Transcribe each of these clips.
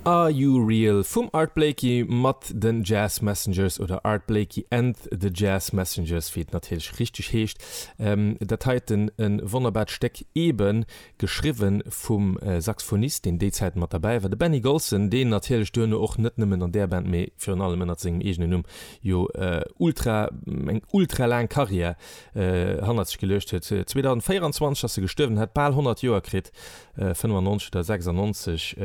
Are You Real vum Art Blakey mat den Jazz Messengers oder Art Blakey and the Jazz Messengers, wéi et natierlech richteg heescht. Dat heiten e wonnerbart Stéck, eebe geschriwwe vum Saxophonist, deen déi Zäit mat derbäi war, de Benny Golson, deen natierlech duerno och net nëmmen an där Band, mee virun allem ënnert sengem eegenen Numm jo ultra eng ultra laang Karriär hannert sech geluecht huet. 2024 ass e gestuerwen, hat bal 100 Joer kritt. 95 oder 96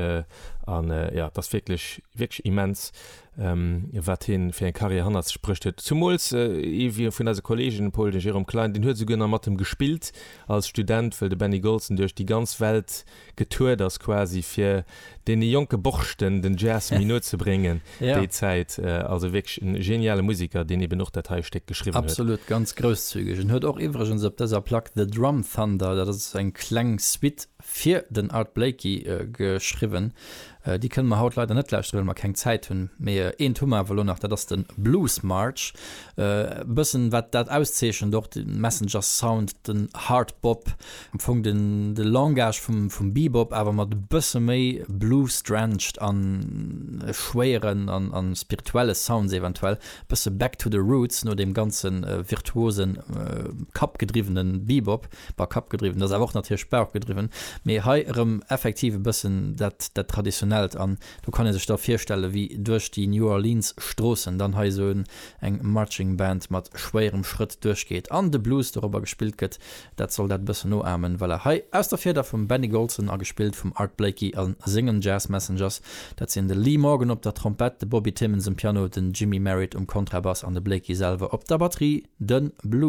an jo et ass wierklech wierklech immens wat hien fir eng Karriär hannert sech bruecht huet. Zumools ee vun eise Kollegen, Paul, de Jérôme Klein, deen huet esouguer nach mat em gespillt als Student, wëll de Benny Golson duerch déi ganz Welt getourt ass quasi fir deene jonke Borschten den Jazz méi no ze bréngen déi Zäit. Also wierklech e geniale Musiker, deen eben och dat hei Stéck geschriwwen huet. Absolut, ganz grousszügeg. En huet och iwwregens op dëser Plack The Drum Thunder, dat ass eng kleng Suite fir den Art Blakey geschriwwen. Déi kënne mer haut leider net lauschteren, well mer keng Zäit hunn. Mee eent hu mer awer elo nach, dat ass de Blues March. E bëssen wat dat auszeechent, och de Messenger Sound, den Hard Bop, Am Fong den de Langage vum vum Bebop, awer mat e bësse méi Blues-drenched an schwéieren an an spirituelle Sounds eventuell. Bësse back to the roots no deem ganze virtuosen kappgedriwwene Bebop. Bah, kappgedriwwen, dat ass awer och natierlech bauchgedriwwen, mee hei erëm effektiv e bëssen dat dat traditionellt an do kann ee sech da virstelle wéi duerch déi New Orleans Stroossen dann hei esou eng Marching Band mat schwéierem Schrëtt duerchgeet an de Blues dorobber gespillt gëtt. Dat soll dat e bëssen noahmen. Voilà, hei aus der Fieder vum Benny Golson a gespillt vum Art Blakey a sengen Jazz Messengers. Dat sinn de Lee Morgan op der Trompett, de Bobby Timmons um Piano, den Jimmy Merritt um Kontrabass an de Blakey selwer op der Batterie, de Blues.